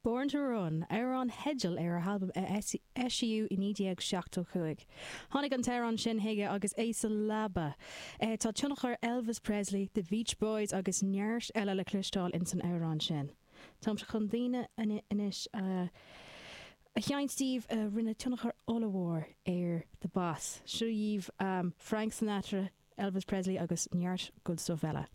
Born to Run, amhrán teidil ar a halbam a eisíodh i 1975. Tháinig an t-amhrán sin chuige agus é sa leaba. Tá tionchar Elvis Presley, The Beach Boys agus neart eile le cloisteáil ins an amhrán sin. Táimse chun daoine anois a sheinnt daoibh a rinne tionchar ollmhór ar The Boss. Seo dhaoibh Frank Sinatra, Elvis Presley agus neart good stuff eile.